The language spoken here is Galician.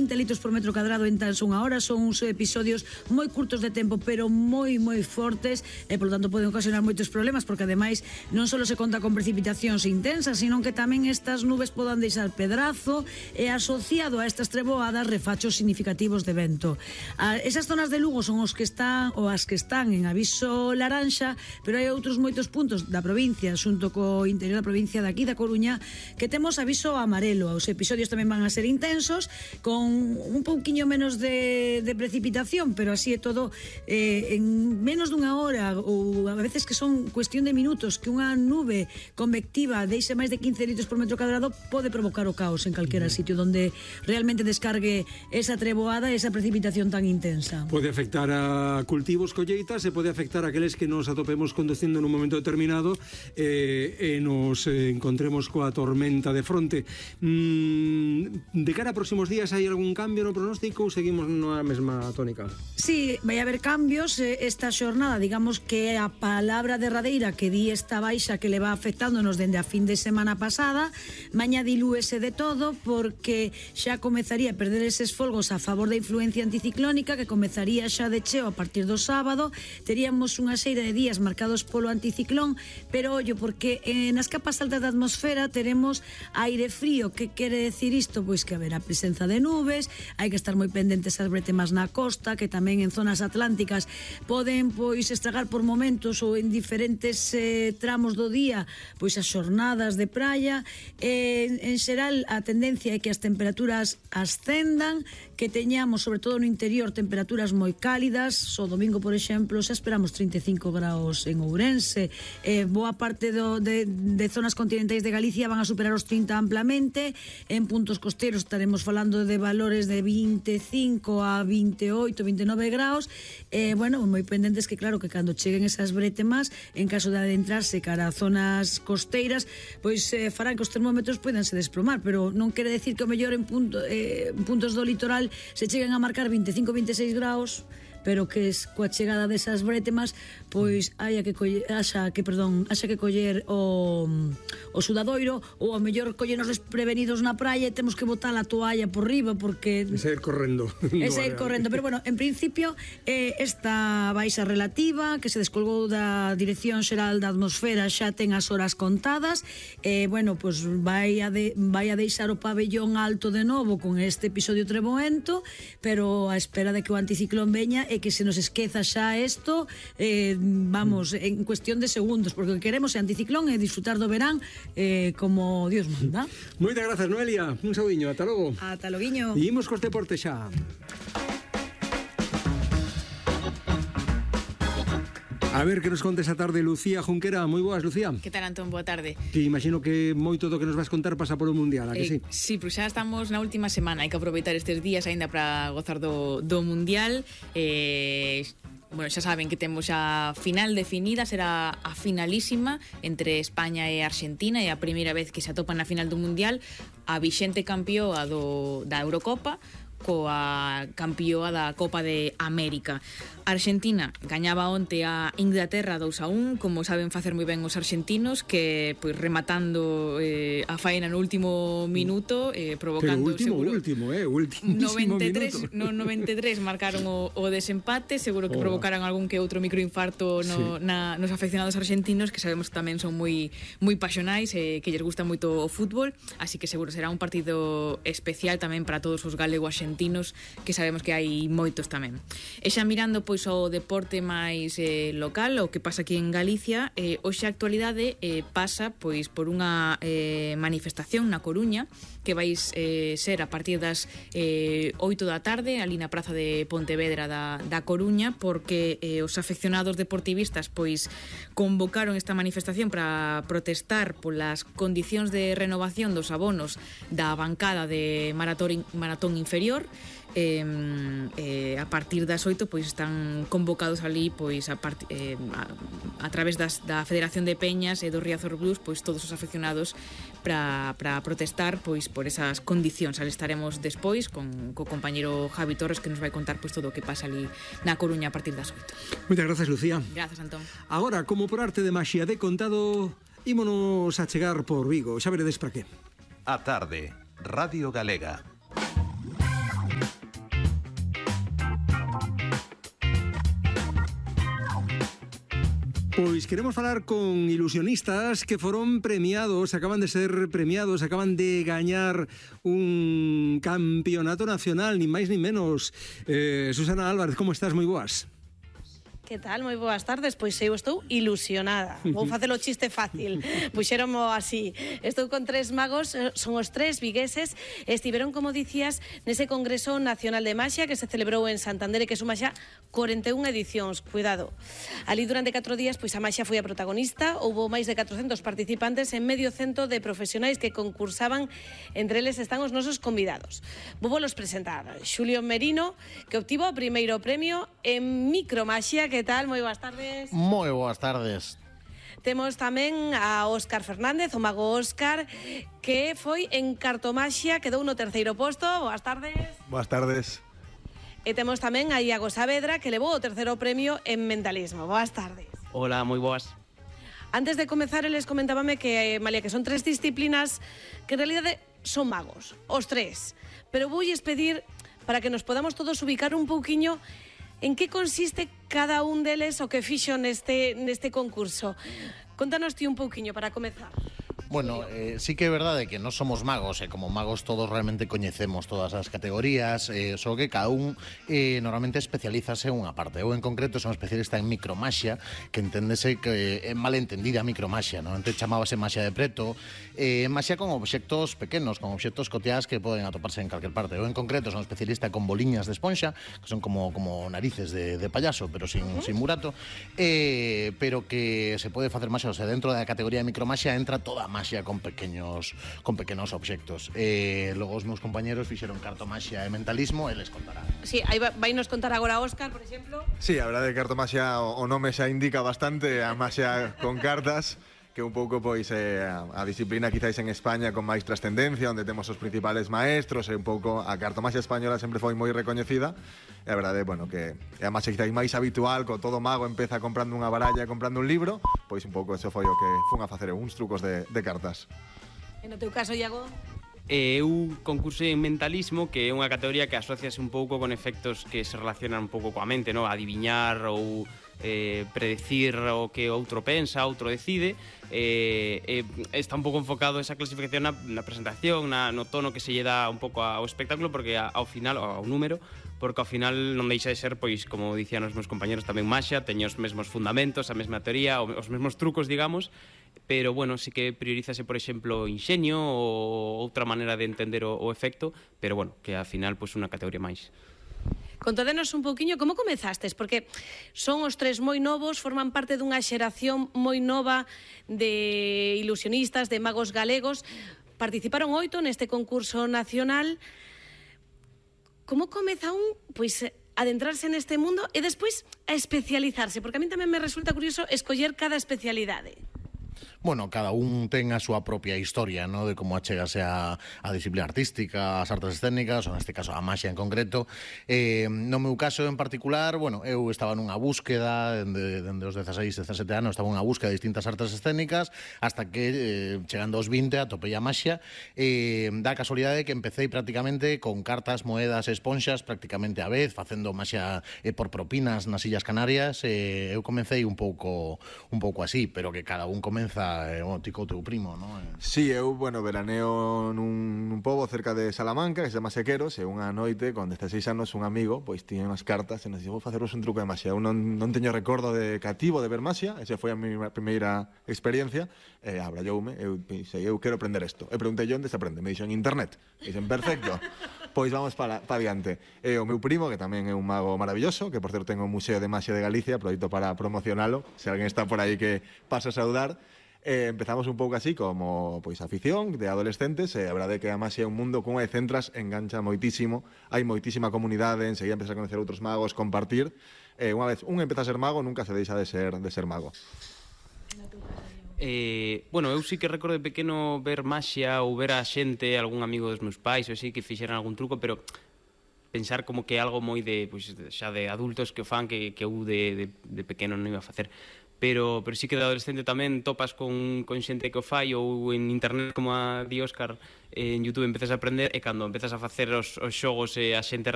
20 litros por metro cadrado en tan só unha hora. Son uns episodios moi curtos de tempo, pero moi fortes, e polo tanto poden ocasionar moitos problemas, porque ademais non só se conta con precipitacións intensas, sino que tamén estas nubes podan deixar pedrazo, e asociado a estas treboadas refachos significativos de vento. Esas zonas de Lugo son os que están, ou as que están en aviso laranxa, pero hai outros moitos puntos da provincia, xunto co interior da provincia de aquí da Coruña, que temos aviso amarelo. Os episodios tamén van a ser intensos, con un pouquiño menos de precipitación, pero así é todo, en menos dunha hora, ou a veces que son cuestión de minutos, que unha nube convectiva deixe máis de 15 litros por metro cadrado, pode provocar o caos en calquera sitio donde realmente descargue esa treboada, esa precipitación tan intensa. Pode afectar a cultivos, colleitas, e pode afectar a aqueles que nos atopemos conducindo nun momento determinado e nos encontremos coa tormenta de fronte. De cara a próximos días, hai algún cambio no pronóstico ou seguimos na mesma tónica? Sí, vai haber cambios esta xornada, digamos que a palabra derradeira que di esta baixa que le va afectándonos dende a fin de semana pasada, mañá dilúese de todo, porque xa comezaría a perder eses folgos a favor da influencia anticiclónica, que comezaría xa de cheo a partir do sábado. Teríamos unha seira de días marcados polo anticiclón, pero ollo, porque nas capas altas da atmosfera teremos aire frío. Que quere decir isto? Pois que haberá presenza de nubes, hai que estar moi pendentes ás bretemas na costa, que tamén en zonas atlánticas poden pois estragar por momentos ou en diferentes tramos do día pois as xornadas de praia. En xeral a tendencia é que as temperaturas ascendan, que teñamos sobre todo no interior temperaturas moi cálidas. O domingo, por exemplo, xa esperamos 35 graus en Ourense, boa parte de zonas continentais de Galicia van a superar os 30 amplamente. En puntos costeros estaremos falando de valores de 25 a 28, 29 graus. Bueno, moi pendentes, que claro, que cando cheguen esas bretemas, en caso de adentrarse cara a zonas costeiras, pois farán que os termómetros poidanse desplomar, pero non quere decir que o mellor en puntos do litoral se cheguen a marcar 25, 26 graus, pero que coa chegada desas bretemas pois haxa que coller o sudadoiro, ou ao mellor collernos desprevenidos na praia e temos que botar a toalla por riba, porque E sair correndo. Pero bueno, en principio esta baixa relativa que se descolgou da Dirección Xeral da Atmosfera xa ten as horas contadas. Bueno, pois vai a deixar o pabellón alto de novo con este episodio treboento, pero a espera de que o anticiclón veña e que se nos esqueza xa isto, vamos, en cuestión de segundos, porque o que queremos é anticiclón e disfrutar do verán como Dios manda. Moitas grazas, Noelia, un saudiño, ata logo. Ata loguiño. E imos cos deportes xa. A ver, que nos contes a tarde Lucía Junquera. Moi boas, Lucía. Que tal, Antón? Boa tarde. Que imagino que moito do que nos vas contar pasa polo Mundial, a que sí? Sí, pero xa estamos na última semana. Hai que aproveitar estes días aínda para gozar do Mundial. Bueno, xa saben que temos a final definida, será a finalísima entre España e Argentina, é a primeira vez que se atopan na final do Mundial, a vixente campioa da Eurocopa coa campioa da Copa de América. Argentina gañaba onte a Inglaterra 2-1, como saben facer moi ben os argentinos, que pois rematando a faena no último minuto, provocando último 93 marcaron o desempate, seguro que provocaran algún que outro microinfarto nos afeccionados argentinos, que sabemos que tamén son moi pasionais e que lles gusta moito o fútbol, así que seguro será un partido especial tamén para todos os galego-argentinos, que sabemos que hai moitos tamén. E xa mirando pois o deporte máis local, o que pasa aquí en Galicia, hoxe a actualidade pasa pois por unha manifestación na Coruña, que vai ser a partir das 8 da tarde ali na praza de Pontevedra da Coruña, porque os afeccionados deportivistas pois convocaron esta manifestación para protestar polas condicións de renovación dos abonos da bancada de maratón inferior. A partir das 8 pois están convocados ali pois a través da Federación de Peñas e do Riazor Blues, pois todos os afeccionados para protestar pois por esas condicións. Ali estaremos despois co compañeiro Javi Torres, que nos vai contar pois todo o que pasa ali na Coruña a partir das 8. Moitas grazas, Lucía. Grazas, Antón. Agora, como por arte de maxia de contado, ímonos a chegar por Vigo. Xa veredes para qué. A tarde, Radio Galega. Pois queremos falar con ilusionistas que foron premiados, acaban de ser premiados, acaban de gañar un campeonato nacional, ni máis ni menos. Susana Álvarez, como estás? Moi boas. Que tal? Moi boas tardes. Pois eu estou ilusionada. Vou facer o chiste fácil. Puxéronmo así. Estou con tres magos, son os tres vigueses, estiveron, como dicías, nese Congreso Nacional de Maxia que se celebrou en Santander e que suma xa 41 edicións. Cuidado. Ali durante 4 días, pois a maxia foi a protagonista. Houbo máis de 400 participantes en medio cento de profesionais que concursaban. Entre eles están os nosos convidados. Vou volos presentar. Xulio Merino, que obtivo o primeiro premio en micromaxia. Que tal? Moi boas tardes. Moi boas tardes. Temos tamén a Óscar Fernández, o mago Óscar, que foi en cartomaxia, quedou no terceiro posto. Boas tardes. Boas tardes. E temos tamén a Iago Saavedra, que levou o terceiro premio en mentalismo. Boas tardes. Hola, moi boas. Antes de comezar, eles comentábame que, Malia, que son tres disciplinas que en realidade son magos, os tres. Pero voulles pedir para que nos podamos todos ubicar un pouquiño en que consiste cada un deles o que fixo neste concurso. Contanos ti un pouquiño para comezar. Bueno, sí que é verdade que non somos magos, e como magos todos realmente coñecemos todas as categorías, só que cada un normalmente especialízase en unha parte. Eu en concreto son especialista en micromaxia, que enténdese que é malentendida micromaxia, non? Antes chamábase maxia de preto, maxia con obxectos pequenos, con obxectos coteados que poden atoparse en calquer parte. Eu en concreto son especialista con boliñas de esponxa, que son como narices de payaso, pero sin murato, pero que se pode facer maxia, o sea, dentro da categoría de micromaxia entra toda a maxia con pequenos obxectos. Logo os meus compañeros fixeron cartomaxia e mentalismo e les contarán. Sí, aí vai nos contar agora Óscar, por exemplo. Sí, a verdade que cartomaxia o nome xa indica bastante, a maxia con cartas, que un pouco pois a disciplina quizáis en España con máis trascendencia, onde temos os principales maestros, e un pouco a cartomaxia española sempre foi moi recoñecida. E a verdade, bueno, que é a maxia quizáis máis habitual, co todo mago empeza comprando unha baralla e comprando un libro, pois un pouco eso foi o que fun a facer uns trucos de cartas. E no teu caso, Iago? Eu concursei en mentalismo, que é unha categoría que asociase un pouco con efectos que se relacionan un pouco coa mente, no? Adiviñar ou predecir o que outro pensa, outro decide. Está un pouco enfocado esa clasificación na presentación, no tono que se lle dá un pouco ao espectáculo, porque ao final, ao número, porque ao final non deixa de ser, pois, como dicían os meus compañeros, tamén maxia, teño os mesmos fundamentos, a mesma teoría, os mesmos trucos, digamos, pero, bueno, sí que priorízase, por exemplo, inxenio ou outra maneira de entender o efecto, pero, bueno, que ao final, pois, unha categoría máis. Contadenos un pouquiño como comezastes, porque son os tres moi novos, forman parte dunha xeración moi nova de ilusionistas, de magos galegos. Participaron 8 neste concurso nacional. Como comeza un, pois, adentrarse neste mundo e despois a especializarse? Porque a mí tamén me resulta curioso escoller cada especialidade. Bueno, cada un ten a súa propia historia, ¿no? De como achegase a disciplina artística, as artes escénicas, ou neste caso a maxia en concreto. No meu caso en particular, bueno, eu estaba nunha búsqueda dende os 16, 17 anos, estaba nunha búsqueda de distintas artes escénicas, hasta que, chegando aos 20, atopei a maxia. Da casualidade que empecé prácticamente con cartas, moedas e esponxas prácticamente a vez, facendo maxia por propinas nas Illas Canarias. Eu comecei un pouco así, pero que cada un comeza tico teu primo, non? Sí, eu, bueno, veraneo nun pobo cerca de Salamanca, que se chama Sequeros, e unha noite, con 16 anos, un amigo, pois, tiña unhas cartas, e nos dixo, vou faceros un truco de maxia. Eu non teño recordo de cativo de ver maxia, esa foi a miña primeira experiencia, e abralloume, eu pensei, eu quero aprender isto. E preguntei onde se aprende, me dixo en internet. E dixen, perfecto, pois vamos para adiante. E o meu primo, que tamén é un mago maravilloso, que por certo ten o Museo de Maxia de Galicia, aproveito para promocionalo, se alguén está por aí que pasa a saudar. Empezamos un pouco así como pois afición de adolescentes, e a verdade é que a maxia é un mundo como de centras, engancha moitísimo, hai moitísima comunidade, enseguida empezas a conocer outros magos, compartir. Unha vez un empeza a ser mago, nunca se deixa de ser mago. Bueno, eu sí que recordo de pequeno ver maxia ou ver a xente, algún amigo dos meus pais ou así que fixeran algún truco, pero pensar como que é algo moi de, pois, xa de adultos que o fan, que eu de pequeno non iba a facer. Pero sí que de adolescente tamén topas con xente que o fai, ou en internet, como a di Óscar, en YouTube empezas a aprender, e cando empezas a facer os xogos e a xente